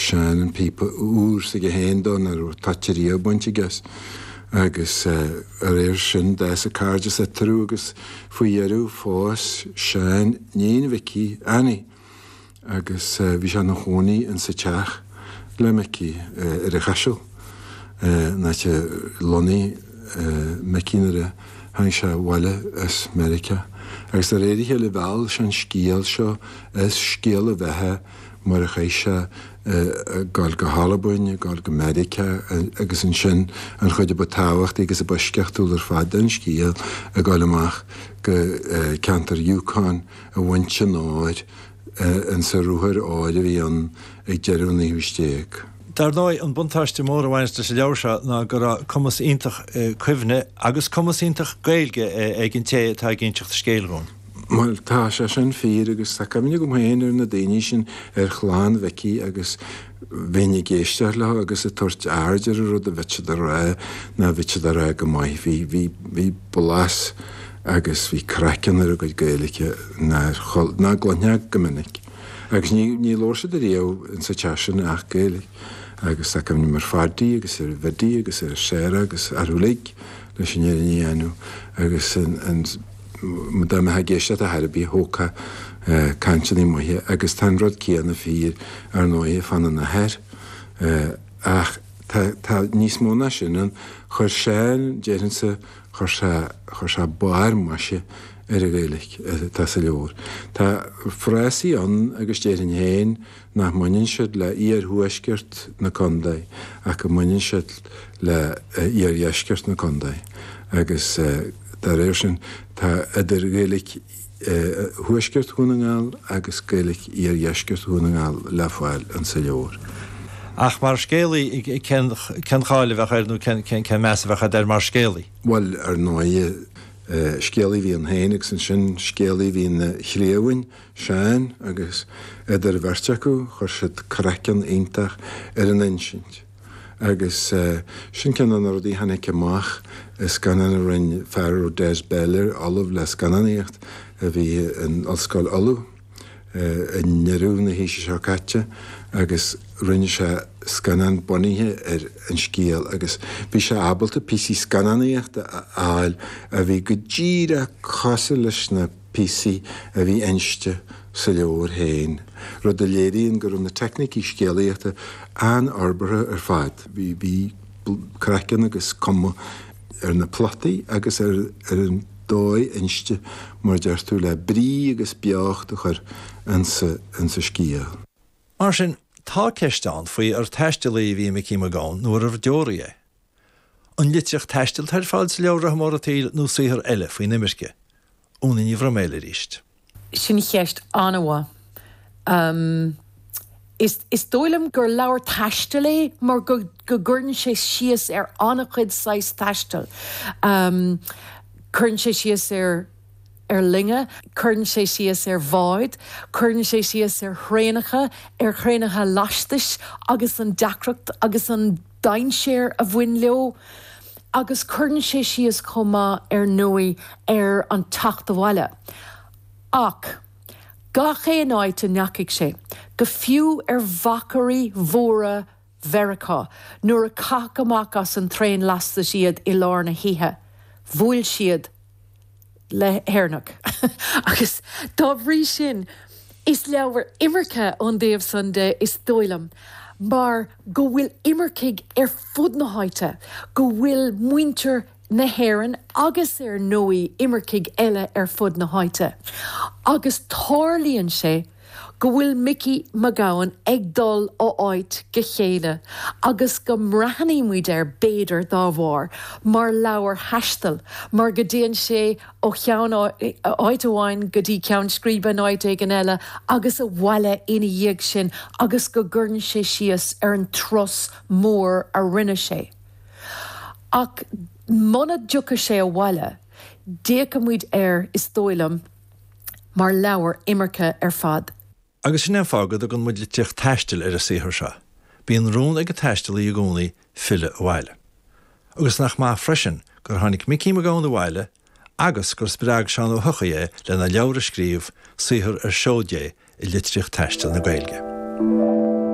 Seán an píopa úr s'aige féin dó nach raibh toit ariamh bainte aige as. Agus dá réir sin d'fhás an cairdeas eatarthu agus faoi dheireadh phós Seán iníon Mhicí, Annie. Agus bhí sé ina chónaí insa teach le Micí ar an Chaiseal, an áit a lonnaigh Micí nuair a tháinig sé abhaile as Meiriceá. Agus de réir a chéile mheall sé an scéal seo as scéal a bheatha mar a chaith sé ag dul go hAlbain, ag dul go Meiriceá agus ansin an chuid a ba tábhachtaí agus a ba eisceachtúla ar fad den scéal, ag dul amach go ceantar Yukon ag baint an óir insa ruathar óir a bhí ann ag deireadh an naoú haois déag. Dar ndóigh, an buntáiste mór a bhaineas leis an leabhar seo ná go raibh cumas iontach cuimhne agus cumas iontach Gaeilge ag an té atá ag inseacht an scéil dhúinn. Bhuel, tá sé sin fíor agus tá cuimhne agam féin ar na daoine sin, ar chlann Mhicí agus bheinn ag éisteacht leo agus ag tabhairt aird ar an rud a bheadh siad a rá ná bheadh siad a rá go maith. Bhí, bhí, bhí blas agus bhí craiceann ar a gcuid Gaeilge nár, ná gcluinfeá go minic. Agus ní, ní labhair siad ariamh insa teach sin ach Gaeilge. Agus tá cuimhne agam ar Phaddy agus ar Bhiddy agus ar Sarah agus orthu uilig leis an fhírinne a dhéanamh agus an, an, dá mbeifeá ag éisteacht ar chor ar bith thógfá cainteanna maithe agus tá an rud céanna fíor ar ndóighe fána n-athair. Ach tá, tá níos mó ná sin ann. Chuir Seán, déarfainnse, chuir sé, chuir sé barr maise ar an Ghaeilge atá sa leabhar. Tá frásaí ann agus déarfainn féin nach mbaineann siad le iarthuaisceart na contae ach go mbaineann siad le iardheisceart na contae agus dá réir sin tá idir Ghaeilge thuaisceart Dhún na nGall agus Gaeilge iardheisceart Dhún na nGall le fáil insa leabhar. Ach mar scéalaí, cén cháil a bheadh air nó cén meas a bheadh agat air mar scéalaí? Bhuel, ar ndóighe, scéalaí a bhí ann féin agus ansin scéalaí a bhí ina chliamhain, Seán, agus idir an bheirt acu chuir siad craiceann iontach ar an insint. Agus sin ceann de na rudaí a tháinig amach i scannán a rinne fear a raibh Des Bell air, ollamh le scannánaíocht a bhí in Ollscoil Uladh i ndeireadh na haoise seo caite agus rinne sé scannán bunaithe ar an scéal agus bhí sé ábalta píosaí scannánaíochta a fháil a bhí go díreach cosúil leis na píosaí a bhí inste sa leabhar féin, rud a léiríonn go raibh na teicnící scéalaíochta an-fhorbartha ar fad. Bhí craiceann agus cuma ar na plotaí agus ar an dóigh inste, mar a deir tú, le brí agus beocht a chur insa scéal. Mar sin, tá ceist ann faoi ar taistealaí a bhí i Micí Mac Gabhann nó arbh deoraí é. An litríocht taistil atá ar fáil sa leabhar Rotha Mór an tSaoil nó saothar eile faoin imirce? Úna Ní Bhroiméil arís. Sin ceist an-mhaith. Is is dóigh liom gur leabhar taistil é mar go go gcuireann sé síos ar an-chuid saghas taistil. Cuireann sé síos ar ar loinge, cuireann sé síos ar bháid, cuireann sé síos ar thraenacha, ar thraenacha lastais agus an deacracht agus an dainséar a bhain leo agus cuireann sé síos chomh maith ar ndóigh ar an teacht abhaile. Ach gach aon áit a ndeachaigh sé, go fiú ar mhachairí mhóra Mheiriceá, nuair a caitheadh amach as an traein lastais iad i lár na hoíche, bhuail siad le hÉireannach. Agus dá bhrí sin, is leabhar imirce ón dtaobh san de, is dóigh liom, mar go bhfuil imircigh ar fud na háite, go bhfuil muintir na hÉireann agus ar ndóigh imircigh eile ar fud na háite. Agus tarlaíonn sé go bhfuil Micí Mac Gabhann ag dul ó áit go chéile agus go mbreathnaíonn muid air, b'fhéidir, dá bharr, mar leabhar taistil, mar go dtéann sé ó cheann, áit amháin go dtí ceann scríbe in áit éigin eile agus abhaile ina dhiaidh sin agus go gcuireann sé síos ar an turas mór a rinne sé. Ach muna dtiocfadh sé abhaile, d'fhéachfadh muid air, is dóigh liom, mar leabhar imirce ar fad. Agus sin é an fáth go dtugann muid litríocht taistil ar an saothar seo. Bíonn rún ag an taistealaí i gcónaí filleadh abhaile. Agus nach maith freisin gur tháinig Micí Mac Gabhann abhaile agus gur spreag Seán Ó hEochaidh é lena leabhar a scríobh, saothar ar seoid é i litríocht taistil na Gaeilge.